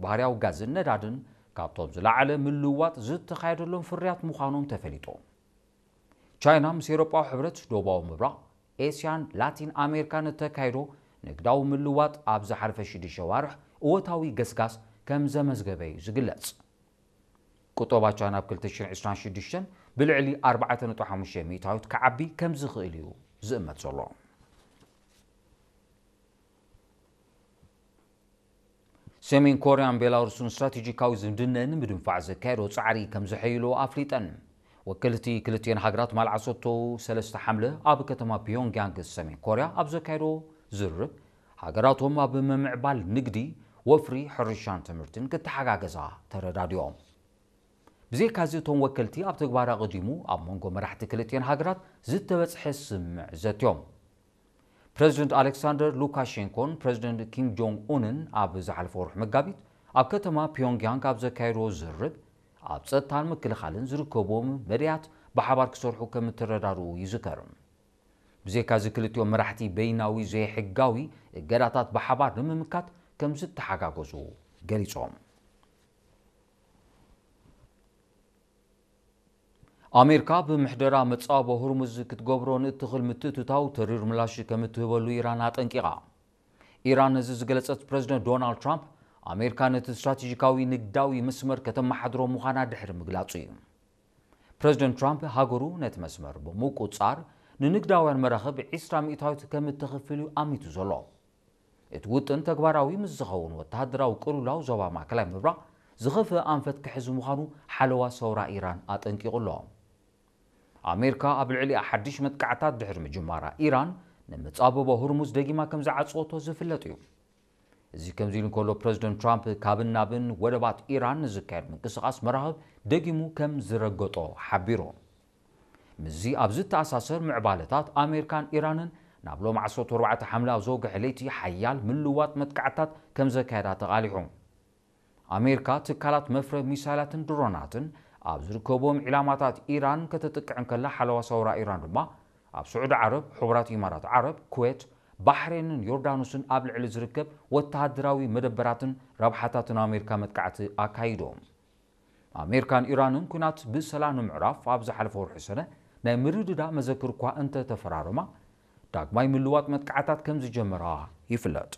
ባህርያዊ ጋዝን ነዳድን ካብቶም ዝለዓለ ምልውዋጥ ዝተኻየደሎም ፍርያት ምዃኖም ተፈሊጡ። ቻይና ምስ ኤውሮጳዊ ሕብረት፣ ደቡባዊ ምብራቕ ኤስያን ላቲን ኣሜሪካን እተካይዶ ንግዳዊ ምልዋጥ ኣብ ዝሓለፈ ሽዱሽተ ዋርሕ እወታዊ ገስጋስ ከም ዘመዝገበ እዩ ዝግለጽ። ቁጠባ ቻይና ኣብ ክልተ ሽሕን ዕስራን ሽዱሽተን ብልዕሊ ኣርባዕተ ነጥቢ ሓሙሽተ ሚእታዊት ክዓቢ ከም ዝኽእል እዩ ዝእመት ዘሎ። ሰሜን ኮርያን ቤላሩስን ስትራቴጂካዊ ዝምድነን ንምድንፋዕ ዘካየዶ ጻዕሪ ከም ዘሐይሎ ኣፍሊጠን። ወከልቲ ክልቲኤን ሃገራት ማል ዓሰርተ ሰለስተ ሓምለ ኣብ ከተማ ፒዮንግያንግ ሰሜን ኮርያ ኣብ ዘካየዶ ዝርርብ፣ ሃገራቶም ኣብ ምምዕባል ንግዲ፣ ወፍሪ፣ ሕርሻን ትምህርትን ክተሓጋገዛ ተረዳዲኦም። ብዘይካዚ እቶም ወከልቲ ኣብ ተግባር ኣቐዲሙ ኣብ መንጎ መራሕቲ ክልቲኤን ሃገራት ዝተበጽሐ ስምምዕ ዘትዮም። ፕረዚደንት ኣሌክሳንደር ሉካሼንኮን ፕረዚደንት ኪም ጆንግ ኡንን ኣብ ዝሓለፈ ወርሒ መጋቢት ኣብ ከተማ ፒዮንግያንግ ኣብ ዘካየድዎ ዝርርብ፣ ኣብ ጸጥታን ምክልኻልን ዝርከብዎም መዳያት ብሓባር ክሰርሑ ከም እተረዳድኡ ይዝከር። ብዘይካዚ ክልቲኦም መራሕቲ በይናዊ ዘይሕጋዊ እገዳታት ብሓባር ንምምካት ከም ዝተሓጋገዙ ገሊጾም። ኣሜሪካ ብምሕደራ መጻወቦ ሁርሙዝ ክትገብሮ ንእትኽእል ምትእትታው ተሪር ምላሽ ከም እትህበሉ ኢራን ኣጠንቂቓ። ኢራን ነዚ ዝገለጸት ፕረዚደንት ዶናልድ ትራምፕ፣ ኣሜሪካ ነቲ ስትራቴጂካዊ ንግዳዊ መስመር ከተመሓድሮ ምዃና ድሕሪ ምግላጹ እዩ። ፕረዚደንት ትራምፕ ሃገሩ ነቲ መስመር ብምቁጻር ንንግዳውያን መራኽብ ዕስራ ሚእታዊት ከም እተኽፍል እዩ ኣሚቱ ዘሎ። እቲ ውጥን ተግባራዊ ምስ ዝኸውን ወተሃደራዊ ቅልውላው ዞባ ማእከላይ ምብራቕ ዝኸፍአ ኣንፈት ክሕዝ ምዃኑ ሓለዋ ሰውራ ኢራን ኣጠንቂቑ ኣሎ። ኣሜሪካ ኣብ ልዕሊኣ ሓድሽ መጥቃዕታት ድሕሪ ምጅማራ ኢራን ንመጻብቦ ሁርሙዝ ደጊማ ከም ዝዓጸወቶ ዝፍለጥ እዩ። እዚ ከምዚ ኢሉ እንከሎ ፕረዚደንት ትራምፕ ካብን ናብን ወደባት ኢራን ንዝካየድ ምንቅስቓስ መራኽብ ደጊሙ ከም ዝረገጦ ሓቢሩ። ምስዚ ኣብ ዝተኣሳሰር ምዕባለታት ኣሜሪካን ኢራንን ናብ ሎም ዓሰርተ ኣርባዕተ ሓምለ ኣብ ዘውግሐ ለይቲ ሓያል ምልዋጥ መጥቃዕታት ከም ዘካየዳ ተቓሊሑ። ኣሜሪካ ትካላት መፍረ ሚሳይላትን ድሮናትን ኣብ ዝርከብዎም ዒላማታት ኢራን ከተጥቅዕ እንከላ ሓለዋ ሰውራ ኢራን ድማ ኣብ ስዑዲ ዓረብ፣ ሕቡራት ኢማራት ዓረብ፣ ኩዌት፣ ባሕሬንን ዮርዳኖስን ኣብ ልዕሊ ዝርከብ ወተሃደራዊ መደበራትን ረብሓታትን ኣሜሪካ መጥቃዕቲ ኣካይዶም። ኣሜሪካን ኢራንን ኲናት ብሰላም ንምዕራፍ ኣብ ዝሓለፈ ወርሒ ሰነ ናይ ምርድዳ መዘክር እኳ እንተተፈራረማ፣ ዳግማይ ምልዋጥ መጥቃዕታት ከም ዝጀመራ ይፍለጥ።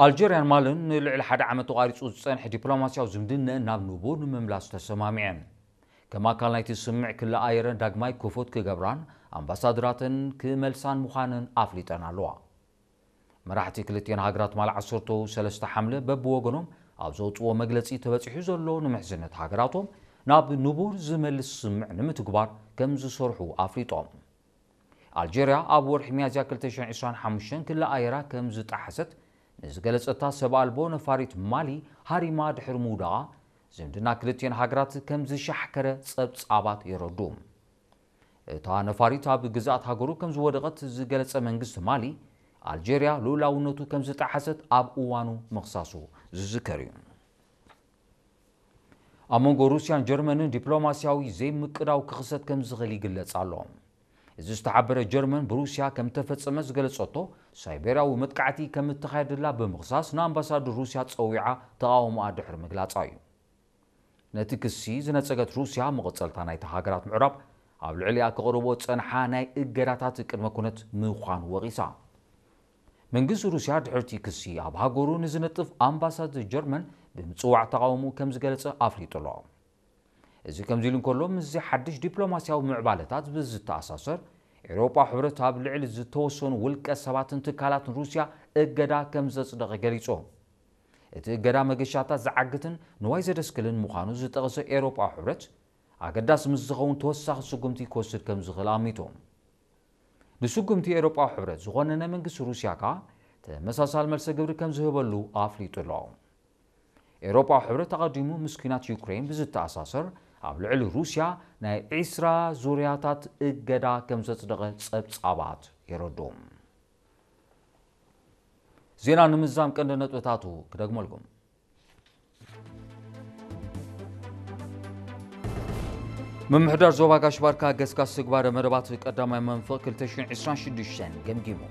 ኣልጀርያን ማልን ንልዕሊ ሓደ ዓመት ተቋሪጹ ዝጸንሐ ዲፕሎማስያዊ ዝምድነአን ናብ ንቡር ንምምላስ ተሰማሚዐን። ከም ኣካል ናይቲ ስምምዕ ክልኣየረን ዳግማይ ክፉት ክገብራን ኣምባሳደራተን ክመልሳን ምዃነን ኣፍሊጠን ኣለዋ። መራሕቲ ክልቲኤን ሃገራት ማል ዓሰርተ ሰለስተ ሓምለ በብወገኖም ኣብ ዘውጽዎ መግለጺ ተበጺሑ ዘሎ ንምሕዝነት ሃገራቶም ናብ ንቡር ዝመልስ ስምምዕ ንምትግባር ከም ዝሰርሑ ኣፍሊጦም። ኣልጀርያ ኣብ ወርሒ ሚያዝያ ክልተ ሽሕን ዕስራን ሓሙሽተን ክልኣየራ ከም ዝጠሓሰት ንዝገለጸታ ሰብ ኣልቦ ነፋሪት ማሊ ሃሪማ ድሕሪ ምውዳቓ፣ ዝምድና ክልቲኤን ሃገራት ከም ዝሻሕከረ ጸብጻባት የረድኡ። እታ ነፋሪት ኣብ ግዝኣት ሃገሩ ከም ዝወደቐት ዝገለጸ መንግስቲ ማሊ፣ ኣልጀርያ ልኡላውነቱ ከም ዝጠሓሰት ኣብ እዋኑ ምኽሳሱ ዝዝከር እዩ። ኣብ መንጎ ሩስያን ጀርመንን ዲፕሎማስያዊ ዘይምቅዳው ክኽሰት ከም ዝኽእል ይግለጽ ኣሎ። እዚ ዝተሓበረ ጀርመን ብሩስያ ከም ተፈጸመ ዝገለጸቶ ሳይቤርያዊ መጥቃዕቲ ከም እተኻየደላ ብምኽሳስ ንኣምባሳደር ሩስያ ጸዊዓ ተቓውሞኣ ድሕሪ ምግላጻ እዩ። ነቲ ክሲ ዝነጸገት ሩስያ መቐጸልታ ናይቲ ሃገራት ምዕራብ ኣብ ልዕሊኣ ከቕርቦ ጸንሓ ናይ እገዳታት ቅድመ ኩነት ምዃኑ ወቒሳ። መንግስቲ ሩስያ ድሕርቲ ክሲ ኣብ ሃገሩ ንዝነጥፍ ኣምባሳደር ጀርመን ብምጽዋዕ ተቓውሞ ከም ዝገለጸ ኣፍሊጡ ኣሎ። እዚ ከምዚ ኢሉ እንከሎ ምስዚ ሓድሽ ዲፕሎማስያዊ ምዕባለታት ብዝተኣሳሰር ኤውሮጳ ሕብረት ኣብ ልዕሊ ዝተወሰኑ ውልቀ ሰባትን ትካላትን ሩስያ እገዳ ከም ዘጽደቐ ገሊጹ። እቲ እገዳ መገሻታት ዝዓግትን ንዋይ ዘደስክልን ምዃኑ ዝጠቐሰ ኤውሮጳ ሕብረት ኣገዳሲ ምስ ዝኸውን ተወሳኺ ስጉምቲ ክወስድ ከም ዝኽእል ኣሚቱ። ንስጉምቲ ኤውሮጳ ሕብረት ዝኾነነ መንግስቲ ሩስያ ከኣ ተመሳሳል መልሰ ግብሪ ከም ዝህበሉ ኣፍሊጡ ኣሎ። ኤውሮጳ ሕብረት ኣቐዲሙ ምስ ኲናት ዩክሬን ብዝተኣሳሰር ኣብ ልዕሊ ሩስያ ናይ ዕስራ ዙርያታት እገዳ ከም ዘጽደቐ ጸብጻባት የረድኡ። ዜና ንምዛም ቀንዲ ነጥብታቱ ክደግመልኩም። ምምሕዳር ዞባ ጋሽ ባርካ ገስጋስ ትግባረ መደባት ቀዳማይ መንፈቕ ክልተ ሽሕን ዕስራን ሽዱሽተን ገምጊሙ።